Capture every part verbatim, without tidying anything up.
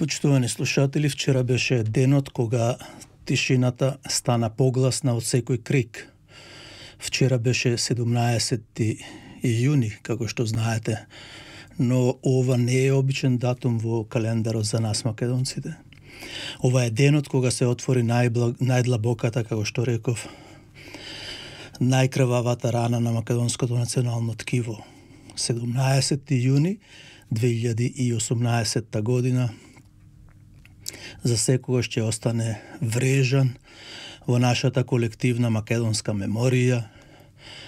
Почитувани слушатели, вчера беше денот кога тишината стана погласна од секој крик. Вчера беше седумнаесети јуни, како што знаете, но ова не е обичен датум во календарот за нас македонците. Ова е денот кога се отвори најблаг, најдлабоката, како што реков, најкрвавата рана на македонското национално ткиво. седумнаесети јуни две илјади и осумнаесетта година за секогаш ќе остане врежан во нашата колективна македонска меморија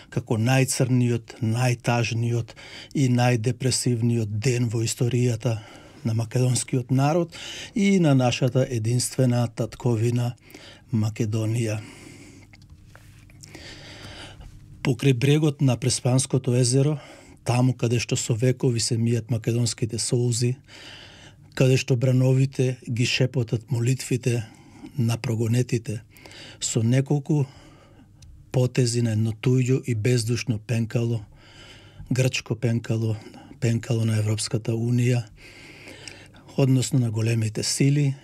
како најцрниот, најтажниот и најдепресивниот ден во историјата на македонскиот народ и на нашата единствена татковина Македонија. Покрај брегот на Преспанското езеро, таму каде што со векови се мијат македонските солзи, каде што брановите ги шепотат молитвите на прогонетите, со неколку потези на едно туѓо и бездушно пенкало, грчко пенкало, пенкало на Европската Унија, односно на големите сили,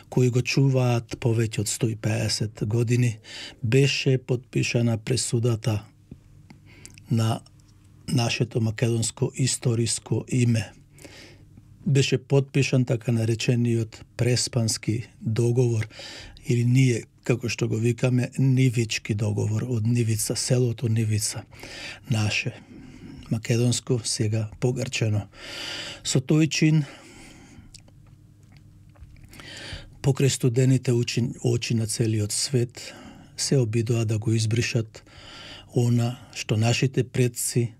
кои го чуваат повеќе од сто и пеесет години, беше подпишана пресудата на нашето македонско историско име. Беше подпишан така наречениот Преспански договор, или ние, како што го викаме, Нивички договор, од Нивица, селото Нивица, наше, македонско, сега погрчено. Со тој чин, покрај студените очи, очи на целиот свет, се обидоа да го избришат она што нашите предци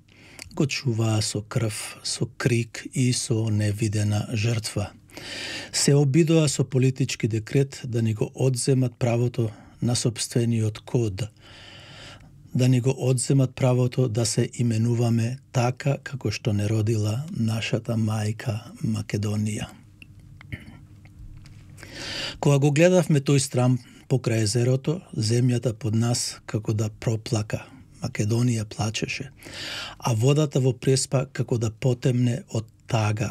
го чуваа со крв, со крик и со невидена жртва. Се обидоа со политички декрет да ни го одземат правото на собствениот код, да ни го одземат правото да се именуваме така како што не родила нашата мајка Македонија. Кога го гледавме тој страм покрај езерото, земјата под нас како да проплака. Македонија плачеше, а водата во Преспа како да потемне од тага.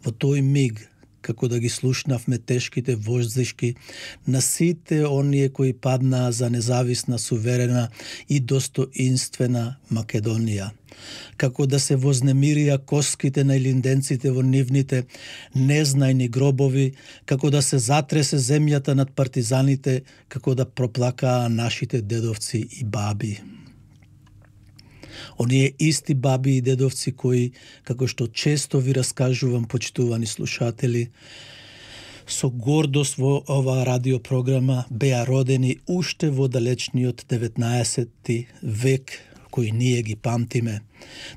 Во тој миг, како да ги слушнавме тешките воздишки на сите оние кои паднаа за независна, суверена и достоинствена Македонија. Како да се вознемирија коските на илинденците во нивните незнајни гробови, како да се затресе земјата над партизаните, како да проплакаа нашите дедовци и баби. Оние исти баби и дедовци кои, како што често ви раскажувам, почитувани слушатели, со гордост во оваа радиопрограма беа родени уште во далечниот деветнаесети век, кои ние ги памтиме.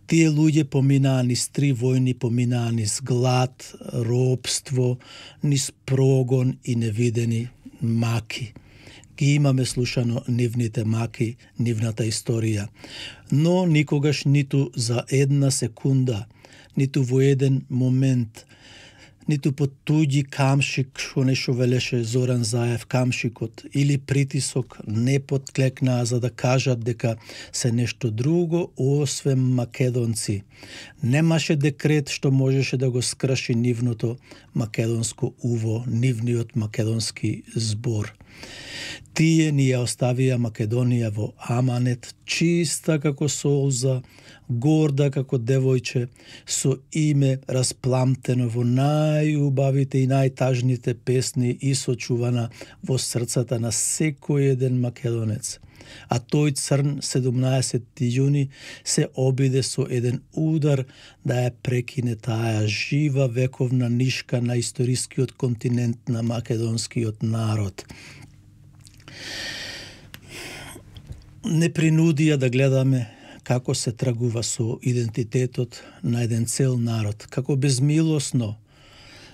Тие луѓе поминаа низ три војни, поминаа низ глад, робство, низ прогон и невидени маки. Ги имаме слушано нивните маки, нивната историја, но никогаш ниту за една секунда, ниту во еден момент, ниту под туѓи камшик, што нешто велеше Зоран Заев, камшикот, или притисок, не подклекнаа за да кажат дека се нешто друго, освен македонци. Немаше декрет што можеше да го скрши нивното македонско уво, нивниот македонски збор. Тие ни ја оставија Македонија во аманет, чиста како солза, горда како девојче, со име распламтено во најубавите и најтажните песни и сочувана во срцата на секој еден македонец. А тој црн седумнаесети јуни се обиде со еден удар да ја прекине таа жива вековна нишка на историскиот континент на македонскиот народ. Не принудија да гледаме како се тргува со идентитетот на еден цел народ, како безмилосно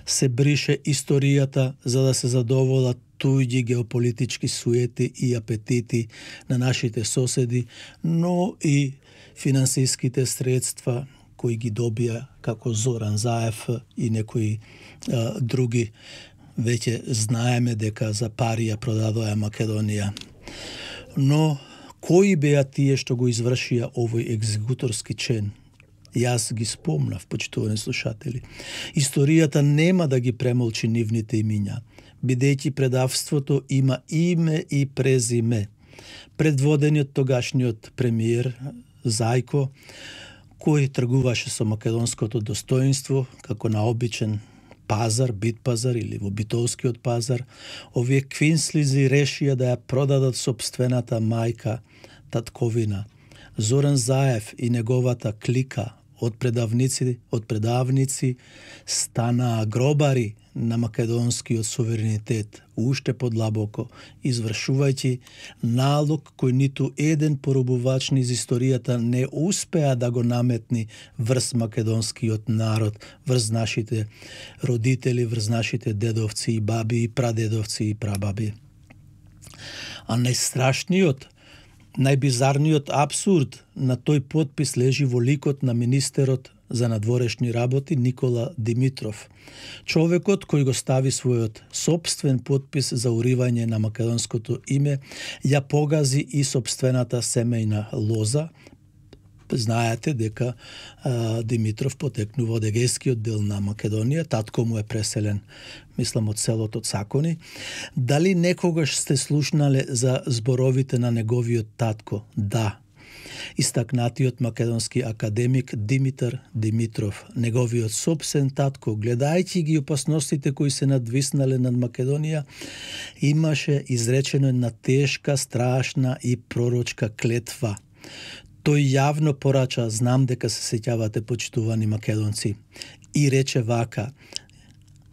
се брише историјата за да се задоволат туѓи геополитички суети и апетити на нашите соседи, но и финансиските средства кои ги добија како Зоран Заев и некои а, други. Веќе знаеме дека за пари ја продадоа Македонија. Но кои беа тие што го извршија овој екзекуторски чин? Јас ги спомнав, почитувани слушатели. Историјата нема да ги премолчи нивните имиња, бидејќи предавството има име и презиме. Предводениот тогашниот премиер Зајко, кој тргуваше со македонското достоинство, како на обичен пазар, бит пазар или во битовскиот пазар, овие квинслизи решија да ја продадат собствената мајка, татковина. Зоран Заев и неговата клика од предавници, од предавници станаа гробари на македонскиот суверенитет, уште подлабоко, извршувајќи налог кој ниту еден поробувач низ историјата не успеа да го наметни врз македонскиот народ, врз нашите родители, врз нашите дедовци и баби и прадедовци и прабаби. А најстрашниот, најбизарниот абсурд на тој потпис лежи во ликот на министерот за надворешни работи Никола Димитров, човекот кој го стави својот собствен потпис за уривање на македонското име, ја погази и собствената семејна лоза. Знаете дека а, Димитров потекнува од егејскиот дел на Македонија, татко му е преселен, мислам, од селото Цакони. Дали некогаш сте слушнале за зборовите на неговиот татко? Да. Истакнатиот македонски академик Димитар Димитров, неговиот собствен татко, гледајќи ги опасностите кои се надвиснале над Македонија, имаше изречено една тешка, страшна и пророчка клетва. Тој јавно порача, знам дека се сеќавате, почитувани македонци, и рече вака,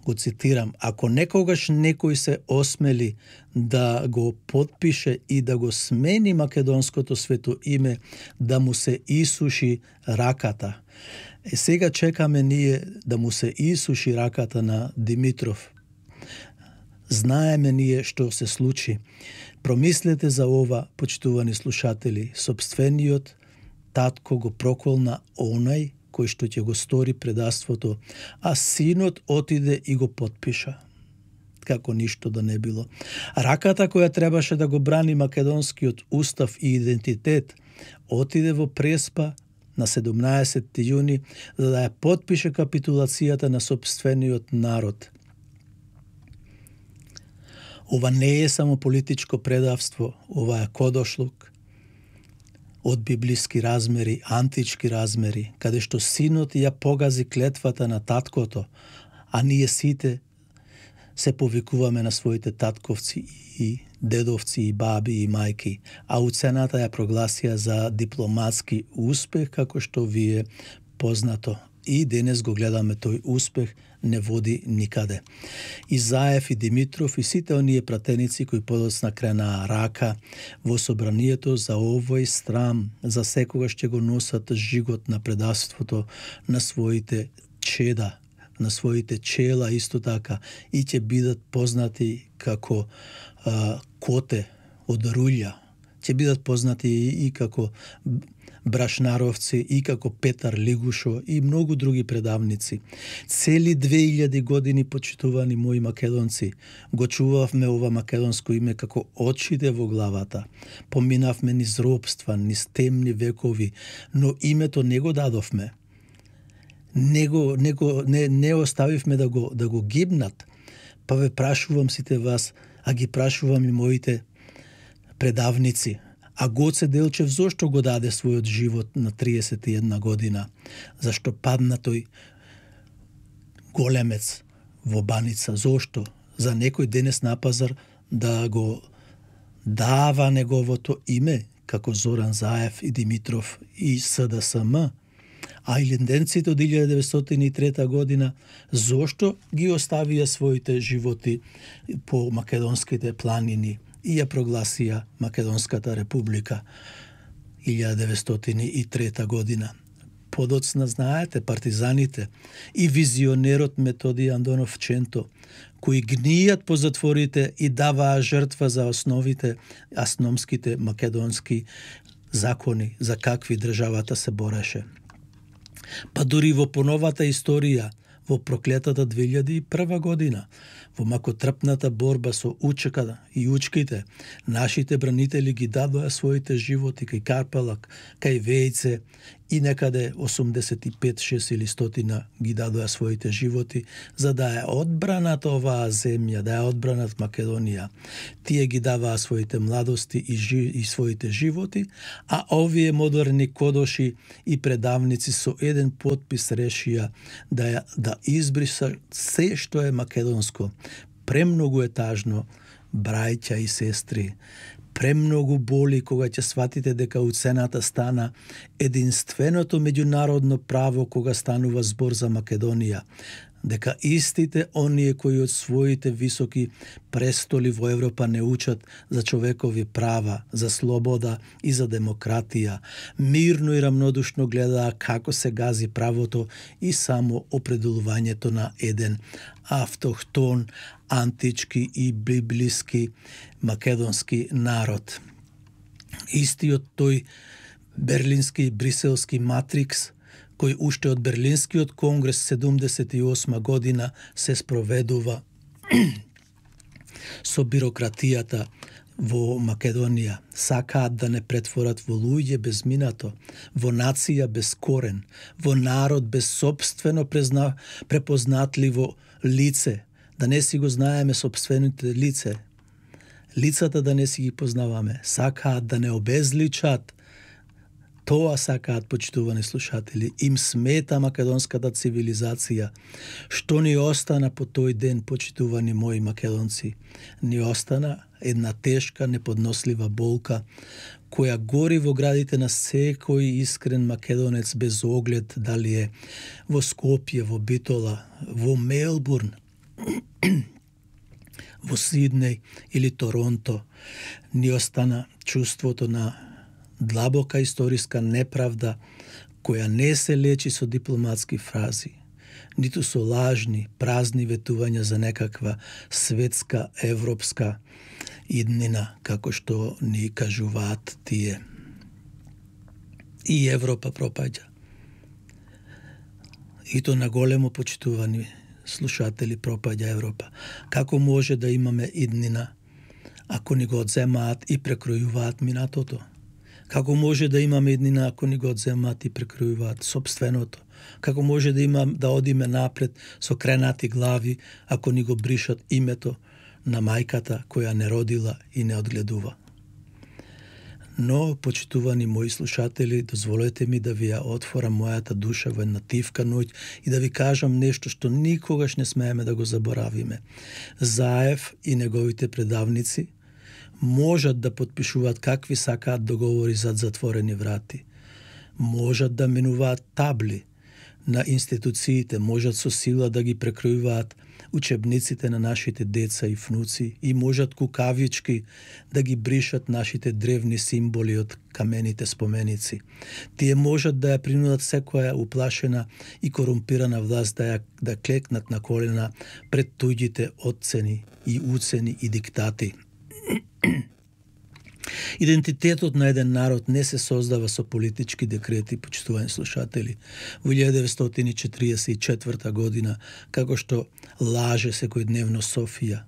го цитирам: ако некогаш некој се осмели да го потпише и да го смени македонското свето име, да му се исуши раката. Е, сега чекаме ние да му се исуши раката на Димитров. Знаеме ние што се случи. Промислете за ова, почитувани слушатели. Собствениот татко го проколна онај кој што ќе го стори предавството, а синот отиде и го потпиша. Како ништо да не било. Раката која требаше да го брани македонскиот устав и идентитет, отиде во Преспа на седумнаесетти јуни за да ја потпише капитулацијата на собствениот народ. Ова не е само политичко предавство, ова е кодошлук од библиски размери, антички размери, каде што синот ја погази клетвата на таткото, а ние сите се повикуваме на своите татковци и дедовци и баби и мајки, а уцената ја прогласија за дипломатски успех, како што ви е познато. И денес го гледаме тој успех, не води никаде. И Заев и Димитров и сите оние пратеници кои подоцна кренаа рака во собранието за овој срам, за секогаш ќе го носат жигот на предавството на своите чеда, на своите чела исто така, и ќе бидат познати како а, коте од рулја, ќе бидат познати и, и како Брашнаровци, и како Петар Лигушо и многу други предавници. Цели две илјади години, почитувани мои македонци, го чувавме ова македонско име како очите во главата. Поминавме низ робства, низ темни векови, но името не го дадовме. Не, го, не, го, не, не оставивме да го, да го гибнат. Па ве прашувам сите вас, а ги прашувам и моите предавници. А Гоце Делчев зошто го даде својот живот на триесет и една година? Зашто падна тој големец во баница? Зошто? За некој денес на пазар да го дава неговото име, како Зоран Заев и Димитров и С Д С М? А илинденците од илјада деветстотини и трета година, зошто ги оставија своите животи по македонските планини и ја прогласија Македонската република илјада деветстотини и трета година? Подоцна, знаете, партизаните и визионерот Методи Андонов Ченто, кои гнијат по затворите и даваа жртва за основите, асномските македонски закони, за какви државата се бореше. Па дури во поновата историја, во проклетата две илјади и прва година, во макотрпната борба со учката и учките, нашите бранители ги дадоа своите животи кај Карпалак, кај Вејце и некаде осумдесет и пет, шест или стотина ги дадоа своите животи за да ја одбранат оваа земја, да ја одбранат Македонија. Тие ги даваа своите младости и, жи, и своите животи, а овие модерни кодоши и предавници со еден потпис решија да ја, да избриса се што е македонско. Премногу е тажно, браќа и сестри. Премногу боли кога ќе сватите дека уцената стана единственото меѓународно право кога станува збор за Македонија. Дека истите оние кои од своите високи престоли во Европа не учат за човекови права, за слобода и за демократија, мирно и рамнодушно гледаа како се гази правото и само определувањето на еден автохтон, антички и библиски македонски народ. Истиот тој берлински и бриселски матрикс кој уште од Берлинскиот конгрес седумдесет и осма година се спроведува со бирократијата во Македонија. Сакаат да не претворат во луѓе без минато, во нација без корен, во народ без собствено презна, препознатливо лице, да не си го знаеме собствените лице, лицата да не си ги познаваме. Сакаат да не обезличат. Тоа сакаат, почитувани слушатели. Им смета македонската цивилизација. Што ни остана по тој ден, почитувани мои македонци? Ни остана една тешка, неподнослива болка, која гори во градите на секој искрен македонец без оглед дали е во Скопје, во Битола, во Мелбурн, во Сиднеј или Торонто. Ни остана чувството на длабока историска неправда која не се лечи со дипломатски фрази, ниту со лажни, празни ветувања за некаква светска, европска иднина, како што ни кажуваат тие. И Европа пропаѓа. И то на големо, почитувани слушатели, пропаѓа Европа. Како може да имаме иднина ако ни го одземаат и прекројуваат минатото? Како може да имаме иднина ако ни го одземаат и прекројуваат собственото? Како може да имам да одиме напред со кренати глави ако ни го бришат името на мајката која не родила и не одгледува? Но, почитувани мои слушатели, дозволете ми да ви ја отворам мојата душа во една тивка ноќ и да ви кажам нешто што никогаш не смееме да го заборавиме. Заев и неговите предавници можат да потпишуваат какви сакаат договори зад затворени врати. Можат да менуваат табли на институциите, можат со сила да ги прекројуваат учебниците на нашите деца и внуци и можат кукавички да ги бришат нашите древни символи од камените споменици. Тие можат да ја принудат секоја уплашена и корумпирана власт да ја да клекнат на колена пред туѓите оцени и уцени и диктати. Идентитетот на еден народ не се создава со политички декрети, почитувани слушатели. Во илјада деветстотини четиридесет и четврта година, како што лаже секојдневно Софија,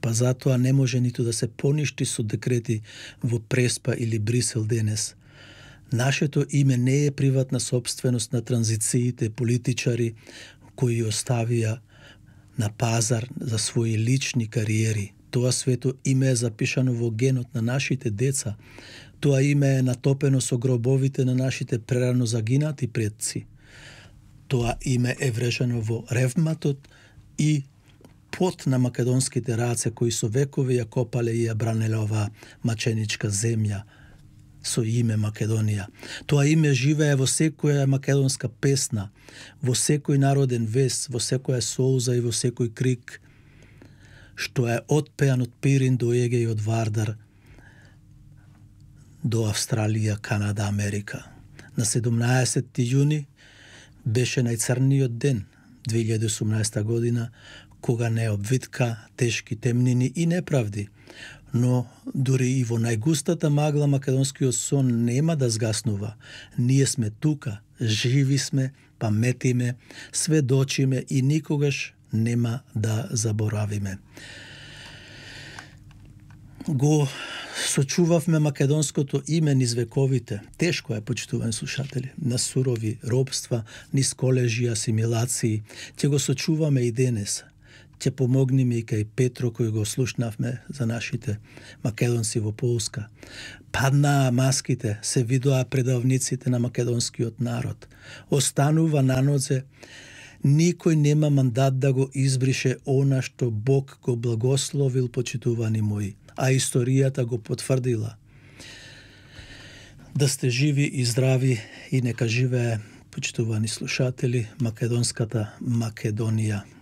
па затоа не може ниту да се поништи со декрети во Преспа или Брисел денес. Нашето име не е приватна собственост на транзициите политичари кои оставија на пазар за своји лични кариери. Тоа свето име е запишано во генот на нашите деца. Тоа име е натопено со гробовите на нашите прерано загинати предци. Тоа име е врежено во ревматот и пот на македонските раце кои со векови ја копале и ја бранеле оваа маченичка земја со име Македонија. Тоа име живее во секоја македонска песна, во секој народен вес, во секоја соуза и во секој крик, што е отпеан од Пирин до Егеј, од Вардар до Австралија, Канада, Америка. На седумнаесетти јуни беше најцрниот ден, две илјади и осумнаесета година, кога не обвитка тешки темнини и неправди. Но дури и во најгустата магла македонскиот сон нема да згаснува. Ние сме тука, живи сме, паметиме, сведочиме и никогаш нема да заборавиме. го сочувавме македонското име низ вековите. Тешко е, почитувани слушатели, на сурови робства, низ колежи, асимилации. Ќе го сочуваме и денес. Ќе помогнеме и кај Петро, кој го слушнавме за нашите македонци во Полска. Паднаа маските, се видоа предавниците на македонскиот народ. Останува на нозе, никој нема мандат да го избрише она што Бог го благословил, почитувани мои, а историјата го потврдила. Да сте живи и здрави и нека живее, почитувани слушатели, македонската Македонија.